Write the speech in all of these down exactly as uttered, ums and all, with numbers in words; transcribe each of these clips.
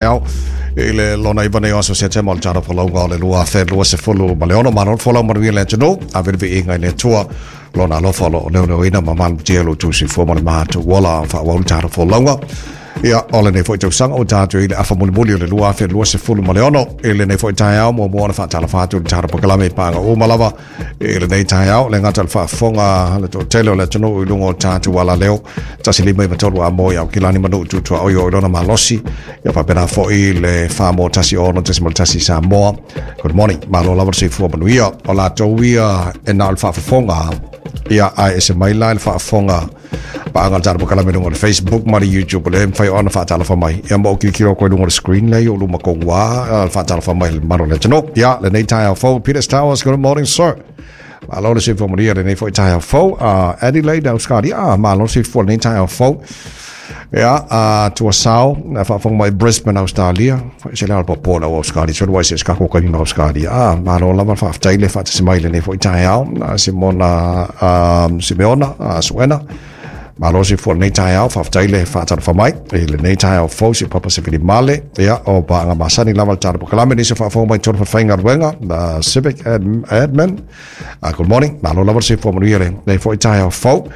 Ao i le lona iva nei o aso Setema o le tatou folauga o le lua afe lua sefulu ma le ono. Malo le folau manuia le atunuu, ave le viiga i le Atua lona alofa o loo leoleoina ma malutia lo outou soifua ma le matou ola faaauau le tatou folauga. Ia, o lenei foi tausaga ua tatou i le afa mulimuli o le lua afe lua sefulu ma le ono. I lenei foi taeao, muamua ona faatalofa atu i le tatou polokalame i paga uma lava i lenei taeao, le gata o le faafofoga le toatele o le atunuu i luga o tatou alaleo tasi lima iva tolu amo i Aukilani ma Nuu tu tuaoi o i lona malosi, ia faapena foi le fa mo tasi ono tasi tasi Samoa. Good morning, malo lava le soifua manuia. O latou ia e na o le faafofoga, ia ae ese mai la le faafofoga paaga le tatou polokalame i luga o le Facebook ma le YouTube, le mafai ona faatalofa mai. Ia ma o kilikilo koe luga o le screen lea i o luma kongua le faatalofa mai le mamalu o le atunuu. Ia lenei taeao fou, Peter Towers, good morning, sir. Malo le soifua manuia lenei foi taeao fou. uh, Adelaide, Australia, ah, malo le soifua lenei taeao fou. Ia, uh, Tuasao, na faafofoga mai Brisbane, Australia. Se le popo la Australia, so wai se ska ko kai Australia. Ah, malo lava, faafetai le faatasi mai lenei foi taeao. Simona, um, Simeona, uh, Suena. Malo soifua lenei taeao, faafetai le faatalofa mai i lenei taeao fou si papa se male. Ia, o paaga masani lava le tatou polokalame nisi faafofoga mai tonu faigaluega, the Civic Admin. Uh, good morning, malo lava le soifua manuia lenei foi taeao fou.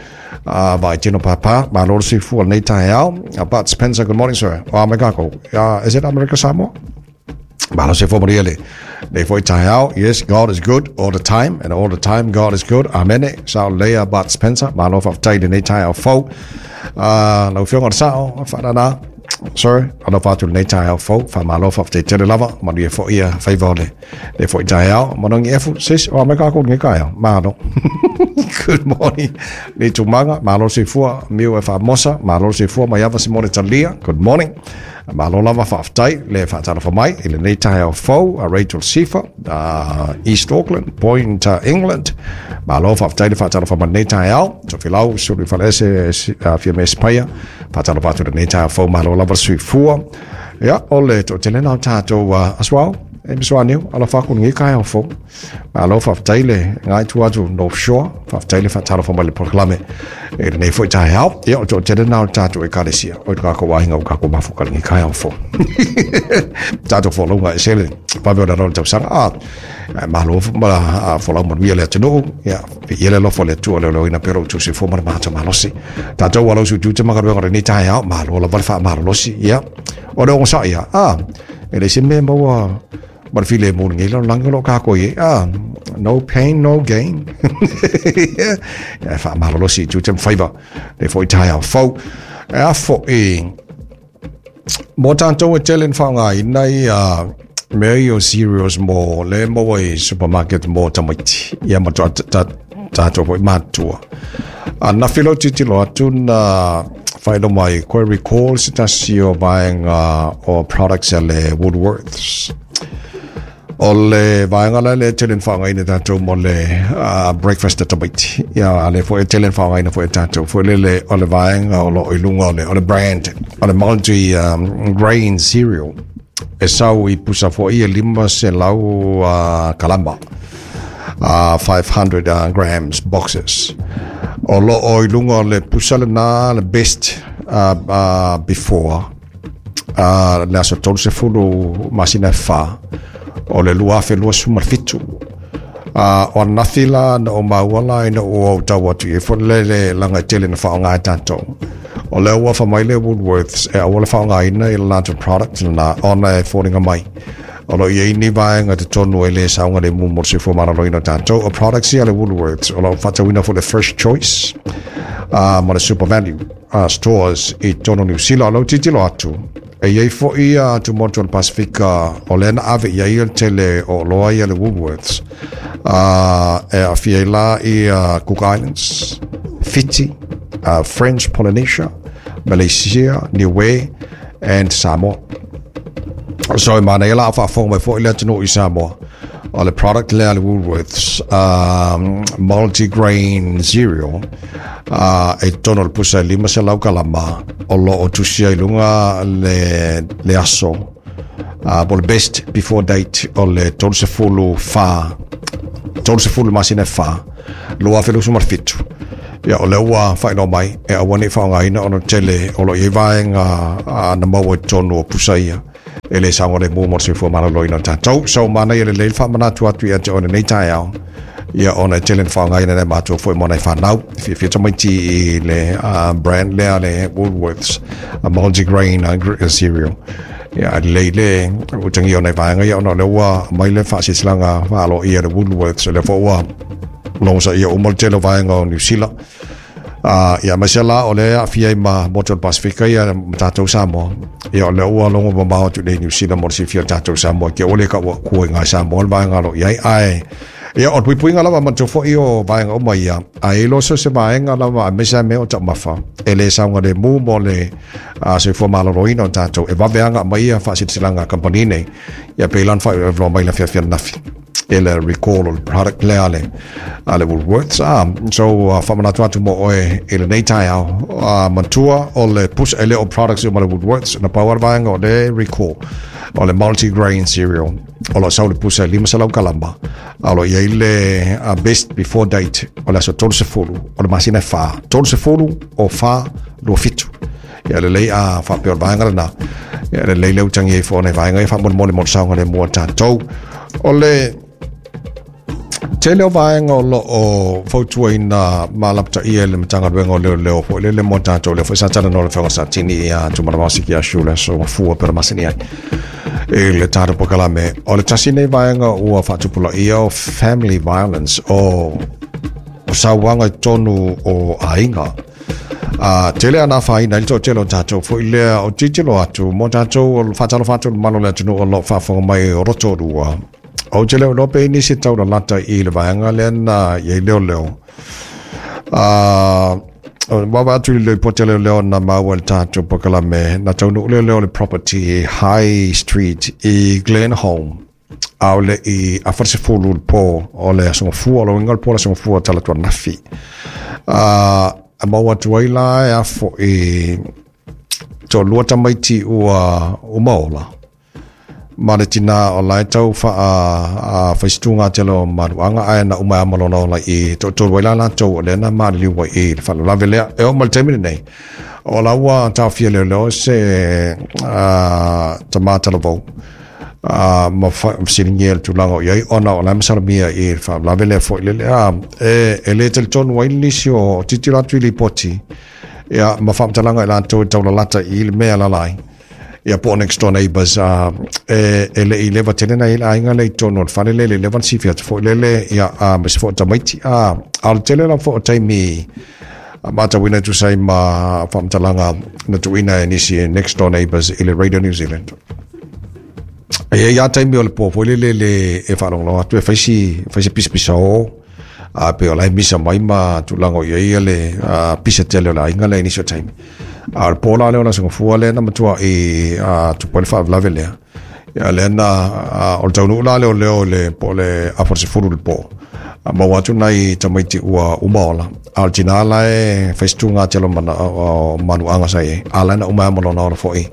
Uh, vai tino papa, malo le soifua lenei taeao. Uh, Bart Spencer, good morning, sir. O Amerika. Uh, is it America Samoa? Malo soifua manuia le lenei foi taeao. Yes, God is good all the time, and all the time God is good. Amen. Sao lea, Bart Spencer. Malo, faafetai lenei taeao fou. Uh, lau afioga o le sao, whaanana. Sir, alofa atu lenei taeao fou. Faamalo, faafetai tele lava. Manuia foi ia faiva o le le foi taeao. Manongi efu, sis, o Amerika ko nge kaeo. Malo. Good morning. Le tumaga, malo soifua, miu e faamosa, malo soifua mai ava Simone Talia. Good morning. Malo lava, faafetai le faatalofa mai i lenei taeao fou. A Rachel Sifa, uh, East Auckland, Point, uh, England. Malo, faafetai le faatalofa mai lenei taeao. Tofilau, sulu i falese, uh, fia me espaia. Faatalofa atu lenei taeao fou, malo lava le soifua. Ia, o le toatele na o tatou uh, as well. E misoaniu, alofa aku lenei taeao fou. Malo, faafetai le ngai tu atu North Shore, faafetai le faatalofa mai le polokalame e lenei foi taeao. Ia, o toatele na o tatou ekalesia, o le kākou aiga o kākou mafuka lenei taeao fou. Tatou folauga e sele, vave o le le tausaga. Ah, malo ma folau manuia le atunuu. Ia, ia le alofa o le Atua leoleoina pea lo outou soifua ma le matou malosi. Tatou alau su tute magaluega lenei taeao, malo lava le faamalolosi. Ia, o le ogosaʻi ia, ah, e le se mea maua ma le filemu lenei lalolagi o loo kākou i ai. Ah, no pain, no gain. Ia, faamalolosi i tiute ma faiva le foi taeao fou. E a foʻi mo tatou e tele na faaaogaina ia mea ia o cereals mo le maua i supermarket mo tamaiti, ia ma tatou foi matua. Anafi lau tilotilo atu na faailoa mai koe recall se tasi o vaega o products a le Woolworths. O le vaega la le tele na faaaogaina tatou mo le uh, breakfast a tamaiti. Ia, a le foi e tele na faaaogaina foi e tatou. Foi lele o le vaega o loo i luga o le, o le brand, o le multi um, grain cereal. E sau i pusa foi e lima selau uh, kalama. Uh, five hundred uh, grams boxes. O lo o i lunga o le pusa le na le best uh, uh, before uh, le aso tolu sefulu masina e fa o le lua afe lua suma fitu. Uh, o anafi la na o maua la ina ua o tau atu i fo le le langa e tele na whaonga e tātou. O lea ua wha le Woolworths e aua le whaongaina i le latou product na ona e fōringa mai. O lo ia ini vaega te tonu e le saunga le mu mo le soifua maloloina o tātou. O products ia le Woolworths o lo whatauina for the First Choice uh, ma le Super Value uh, stores i tonu New Zealand. O lau tilotilo atu e iai foi a tumotu o le Pasifika o lea na ave i ai le tele o loa ia le Woolworths uh, e afia ai la i uh, Cook Islands, Fiji, uh, French Polynesia, Malaysia, Niue and Samoa. So e mana ia la faafofoga mai foi le atunuu i Samoa. O le product lea le Woolworths um, multigrain cereal uh, e tonu o le pusa e lima selau kalama o lo o tusia i luga le, le aso uh, po le best before date o le tolu sefulu fa tolu sefulu masina e fa lua afe lusu ma le fitu. Ia, o lea ua faailoa mai e aua nei faaaogaina ona tele o lo o i ai vaega uh, na maua i totonu o pusa ia. E le saogalemu mo le soifua maloloina o tatou. So manaia lelei le faamanatu atu ia te oe lenei taeao, ia ona e tele na faaaogaina e matou foi mo nai fanau fiafia tamaiti i le uh, brand lea le Woolworths a multigrain uh, cereal. Ia lelei le utagia o nai vaega ia ona o lea ua aumai le faasilasilaga faaloia le Woolworths, o lea foi ua logosaia uma le tele o vaega o Niu Sila. Uh, ia aemaise la o lea aafia ai ma motu o le Pasifika ia ma tatou Samoa. Ia o lea ua logo mamao atu nei Niu Sila mo le silafia o tatou Samoa ke ua le kaua kua i ngā Samoa le vaega o lo o i ai. Ae ia o le puipuiga lava manatua foi o vaega uma ia, ae iloa so se vaega lava aemaise lava mea o taumafa e le saogalemu mo le uh, soifua maloloina o tatou e vave aga aumai ia faasilasilaga a kamupani nei. Ia pei la ona faailoa mai le afiafi ananafi e le recall o le product lea le a le Woolworths. Ah, so uh, faamanatu atu mo oe i lenei taeao, uh, manatua o le pusa e le o products uma le Woolworths na pau a le vaega o le recall o le multigrain cereal o lo o sau le pusa e lima selau kalama, a o lo o i ai le uh, best before date o le aso tolusefulu o le masina e fa, tolusefulu o fa lua fitu. Ia lelei a faapea o le vaega lena. Ia lelei le utagia ai foi o nai vaega ia faamolemole mo le saogalemu o tatou. O le tele o vaega o lo o fautuaina ma lapataia i le Matagaluega o Leoleo foi lele mo tatou, lea foi sa talanoa le Afioga Satini ia Tumalavasi ki a Shula so mafua pera masani ai i le tatou polokalame. O le tasi nei vaega ua faatupulaia o family violence, o o sauaga i totonu o aiga. A tele ana afaina ai le toatele o tatou foi lea o tilotilo atu mo tatou o faatalofa atu i le mamalu o le atunuu o lo o faafofoga mai o Rotorua. Ou te le o iloa pe i nisi e taulalata i le vaega lea na i ai leoleo. A wawa atu i le lipoti a leoleo na maua i le tatou polokalame, na taunuu leoleo i le property i High Street i Glenholme, a o le i afa le sefulu le po o le aso Gafua, o le uiga o le po o le aso Gafua talaatu ananafi. A maua atu ai la e afo i toalua tamaiti ua uma ola ma le tina o la e tau faa faisituga tele o maluaga, ae na uma e ama lona ola i toatolu ai la latou o lea na maliliu ai i le faalavelave lea. E oo mai le taimi lenei o la ua taofia leoleo se tama talavou Uh, ma fesiligia le tulaga o i ai ona o la e masalomia i le faalavelave lea foi lele. A e, e le talitonu ai nisi o tilotilo atu i lipoti ia ma faamatalaga i latou e taulalata i le mea lalai ia po o next door neighbors, uh, e, e le i leva tele na i le aiga lea i totonu o le fale lea, le leva na silafia atu foi lele ia uh, ma se foi o tamaiti. A a o le tele lava foi o taimi matauina e tusa ai ma faamatalaga na tuuina e nisi next door neighbors i le Radio New Zealand. E i ai lava taimi o le po foi lele le e faalogologo atu e fai si fai se pisapisa o a pe o la e misa mai ma tulaga o i ai le a, pisa tele o le aiga lea i nisi o taimi. A o le po la lea o le aso Gafua lea na matua i a, tupu ai le faalavelave lea. Ia lea na a, o le taunuu la lea o leo i le po o le afa o le sefulu i le po. A maua atu nai tamaiti ua uma ola. A o le tina la e fai se tuga tele o mana o manuaga sa i ai. A la na uma e ama lona ola foi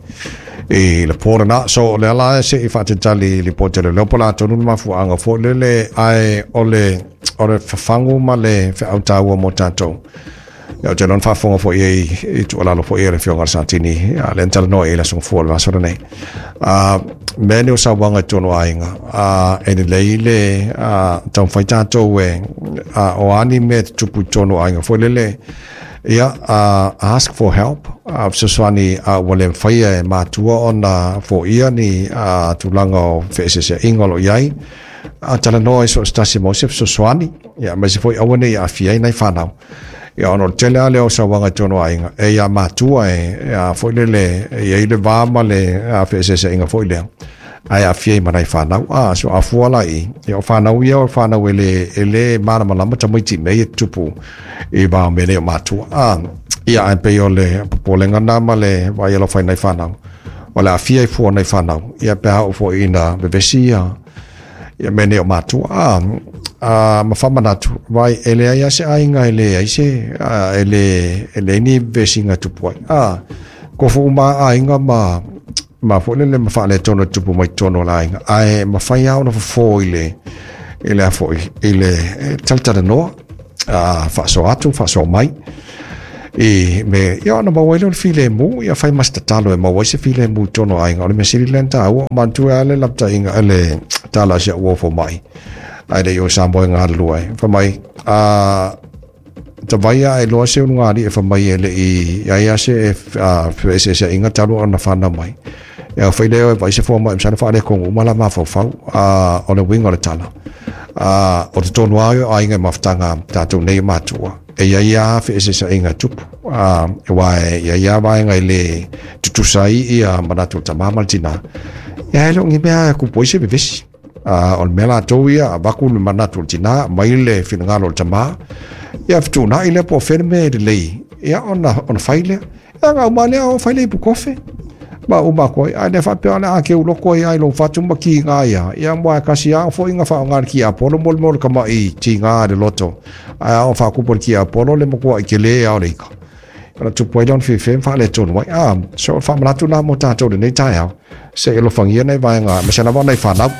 i le po lena. So o lea la se i faatalitali i lipoti a leoleo po o le a tonu le mafuaaga foi lele, ae o le o le fafagu ma le feau taua mo tatou. Ia ou te iloa na faafofoga foi ai i tuualalo foi a le Afioga i le Satini, a lea na talanoa i ai le aso Gafua o le vaiaso lenei. A mea nei o sauaga i totonu o aiga, a e lelei le a, taumafai tatou e a, o a ni mea e tutupu i totonu o aiga foi lele, ia uh, ask for help, uh, fesoasoani uh, ua le mafai e matua ona foia ni uh, tulaga o feeseeseaiga o lo o i ai. Uh, talanoa i so o se tasi mo se fesoasoani, ia aemaise foi aua ne i aafia ai nai fanau. Ia ona o le tele lava lea o sauaga i totonu o aiga, e ia matua e a foi lele e i ai le va ma le feeseeseaiga foi lea, ae aafia ai ma nai fanau. A so afua la i, ia o fanau ia o fanau e le, e le malamalama tamaiti i mea ia e tutupu i va o mea nei o matua. A ia ae pei o le popolega na ma le vaai alofa i nai fanau, o le aafia ai fua o nai fanau, ia pe a oo foi ina vevesi ia ia mea nei o matua. A a ma faamanatu vai e leai lava se aiga e leai se a, e le e leai ni vevesiga e tupu ai. A kofo uma lava aiga ma ma foi lele ma faaletonu e tupu mai totonu o le aiga, ae mafai lava ona fofo i le i le a foi i le talatalanoa, a faasoa atu faasoa mai. I me ia ona maua ai lea o le filemu, ia fai ma se tatalo e maua ai se filemu i totonu o aiga. O le mea sili lea ona taua, manatua lava le lapataiga le tala a si au uo fomai ae le i o i Samoa e galulue ai. Fai mai, a tavai lava e iloa se ulugalii e fai mai e le i i ai lava se feeseeseaiga talu ona fanau mai. Ia ona fai lea o e vaai se fomai masalo faaletonu uma la mafaufau. A o le uiga o le tala, a o totonu lava o aiga i mafutaga a tatou nei matua, e i ai lava feeseeseaiga e tupu, aua e i ai lava vaega e le tutusa ai ia manatu o le tama ma le tina. Ia e le o ni mea e tupu ai se vevesi. A o le mea latou ia, avatu le manatu o le tina, aumai le finagalo o le tama, ia fetuunai lea po o fea le mea e lelei, ia ona, ona fai lea. Ia ona uma lea o fai le ipukofe ma uma atu ai. Ae le faapea o le a keu loko ai lava i lou fatu ma tiga ia, ia aua e tasi lava foi na faaaoga le tiapolo mo le mea o le tamai tiga i le loto. Ae a oo faatupu e le tiapolo le matuai tele lava o le ika, ona tupu ai lea ona fefe ma faaletonu ai. Ah, so o le faamanatu lena mo tatou i lenei taeao, se i alofagia nai vaega, aemaise lava nai fanau.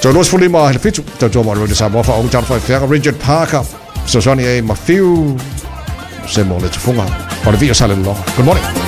Toe luasefulu lima i le fitu, tautua mo le Radio Samoa, faaauau tala faifeaga, Richard Parker, fesoasoani ai ma Fiu, se mo le tufuga o le Vio Salelologa. Good morning.